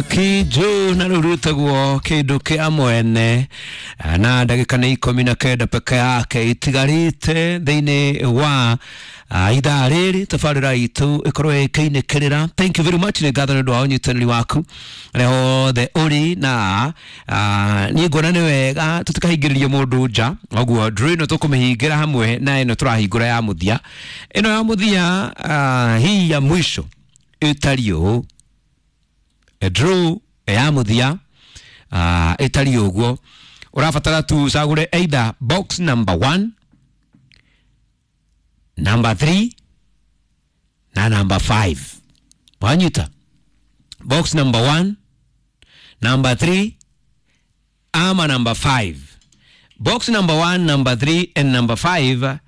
Kiju na rĩu rwĩtagwo kĩndũ kĩa mwene na ndagĩka nĩ 19 peke yake itigarĩte thĩinĩ wa ithaa rĩrĩ tabarĩra itũ ĩkorwo ĩkĩinĩkĩrĩra. Thank you very much, nĩ ngatho nĩ ũndũ wa ũnyitanĩri waku harĩa hothe ũrĩ na niĩ nguona nĩ wega tũtikahingĩrĩrie mũndũ nja, ũguo draw ĩno tũkũmĩhingĩra hamwe na ĩno tũrahingũra ya mũthia. Ĩno ya mũthia, hii ya mwisho ĩtariĩ ũũ. Draw ya mũthia ĩtariĩ ũguo, ũrabatara tu ũcagũre either box number 1, number 3 na number 5. Wanyita? Box number 1, number 3 ama number 5. Box number 1, number 3 and number 5.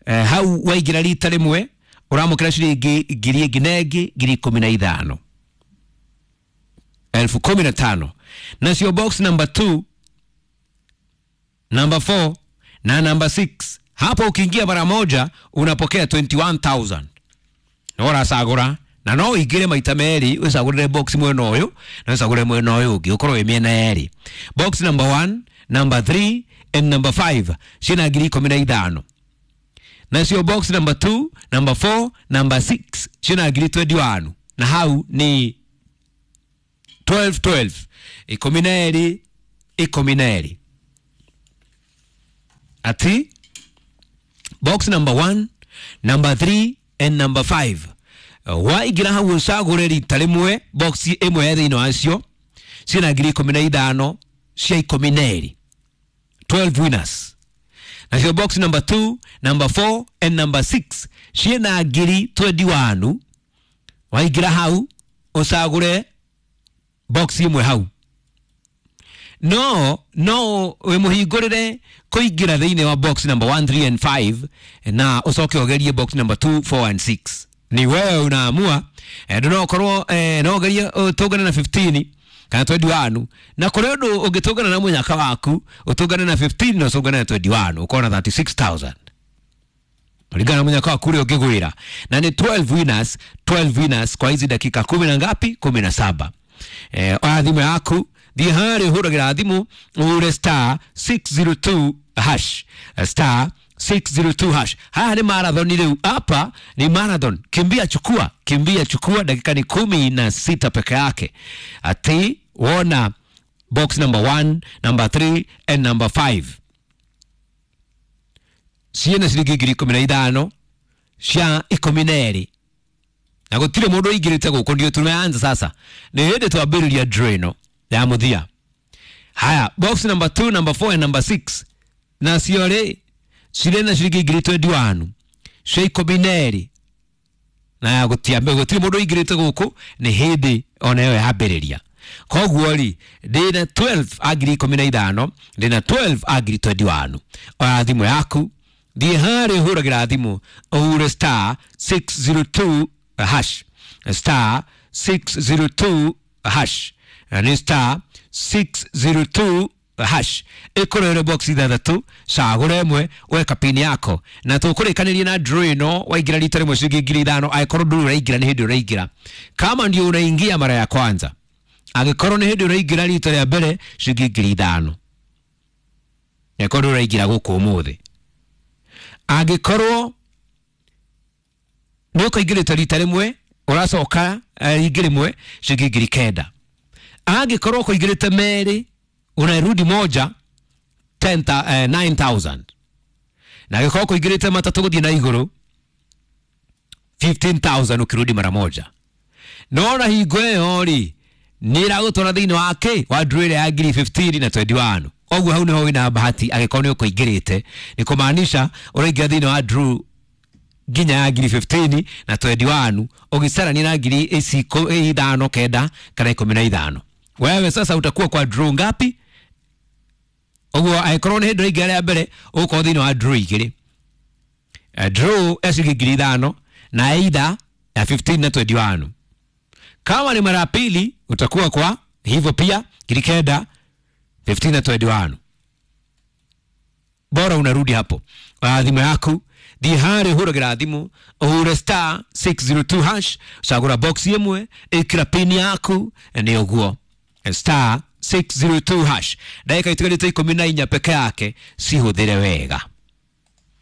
Hau waingĩra rita rĩmwe ũramũkĩra ciringi ngiri ĩngĩ na ĩngĩ 15,000, 15,000. Nacio box number 2, number 4 na number 6, hapo ukiingia mara moja unapokea 21,000. No ũracagũra na no ũingĩre maita merĩ, ũcagũrĩre box mwena ũyũ na ũcagũre mwena ũyũ ũngĩ, ũkorwo wĩ mĩena yerĩ. Box number 1, number 3 and number 5 ciĩna 15,000. Nacio box number 2, number 4, number 6 ciĩna 21,000, na hau ni 12 12, 12 12. Ati box number 1, number 3 and number 5, waingĩra hau ũcagũre rita rĩmwe box ĩmwe ya thĩinĩ wacio ciĩna 15,000 cia 12, 12 winners. Nacio box number 2, number 4 and number 6 ciĩna 21,000. Waingĩra hau ũcagũre box ĩmwe hau, no wĩmũhingũrĩre kũingĩra thĩinĩ wa box number 1, 3 and 5 na ũcoke ũgerie box number 2, 4 and 6. Ni wewe unaamua. No ũkorwo no ũgerie ũtũngane na 15 kana 21, na kũrĩ ũndũ ũngĩtũngana na mũnyaka waku ũtũngane na 15 na ũtũngane na 21, ũkona 36,000 kulingana na mũnyaka waku ũrĩa ũngĩgwĩra. Na ni 12 winners, 12 winners kwa hizi dakika kumi na ngapi? 17. Oya thimũ yaku, thiĩ harĩa ũhũragĩra thimũ, ũhũre star 602 hash, star 602 hash. Haya ni marathon rĩu, hapa ni marathon, kimbia chukua, kimbia chukua. Dakika ni 16 peke yake. Ati wona box number 1, number 3 and number 5 ciĩna ciringi 15,000 cia 12, na gũtirĩ mũndũ ũingĩrĩte gũkũ, ndio tumeanza sasa, nĩ hĩndĩ twambĩrĩria draw ĩno ya mũthia. Haya, box number 2, number 4 and number 6 nacio rĩ cirĩ na ciringi 21,000 cia 12, na gũtirĩ mũndũ ũingĩrĩte gũkũ, nĩ hĩndĩ ona ĩyo yambĩrĩria. Koguo rĩ, ndĩna 12 a 15,000, ndĩna 12 a 21,000. Oya thimũ yaku, thiĩ harĩa ũhũragĩra thimũ, ũhure star 602 hash, star 602 hash, nĩ star 602 hash. Ĩkũrehere box ithathatũ, cagũra ĩmwe, weka pin yako na tũkũrĩkanĩria na draw ĩno. Waingĩra rita rĩmwe ciringi 5,000, angĩkorwo ndũrĩ ũraingĩra, nĩ hĩndĩ ũraingĩra. Kama ndio unaingia mara ya kwanza, angĩkorwo nĩ hĩndĩ ũraingĩra rita rĩa mbere, ciringi 5,000, angĩkorwo ndũrĩ ũraingĩra gũkũ ũmũthĩ. Angĩkorwo nĩ ũkũingĩrĩte rita rĩmwe, ũracoka rĩngĩ rĩmwe, ciringi 9,000. Angĩkorwo ũkũingĩrĩte merĩ, unarudi moja, 9,000. Na angĩkorwo ũkũingĩrĩte matatũ gũthiĩ na igũrũ, 15,000 ukirudi mara moja. No na hingo ĩyo rĩ, nĩ ĩragũtwara thĩinĩ wa kĩ wa draw ĩrĩa ya 15,000 na 21. Koguo hau nĩho wĩna bahati, angĩkorwo nĩ ũkũingĩrĩte, nĩ kũmaanisha ũraingĩra thĩinĩ wa draw nginya ya 15,000 na 21, ũgĩcarania na ngiri ici 5, 9 kana 15. Wewe sasa utakuwa kwa draw ngapi? Ũguo angĩkorwo nĩ hĩndĩ ũraingĩra rĩa mbere, ũgũkorwo thĩinĩ wa draw igĩrĩ, draw ya ciringi 5,000 na either ya 15 na 21. Kama ni mara ya pili, utakuwa kwa hivyo pia 9,000, 15 na 21. Bora unarudi hapo. Thimũ yaku, Thiĩ harĩa ũhũragĩra thimũ, ũhũre star 602 hash, cagũra box ĩmwe, ĩkĩra pin yaku, nĩ ũguo. Star 602 hash. Ndagĩka itigarĩte 14 peke yake, cihũthĩre wega.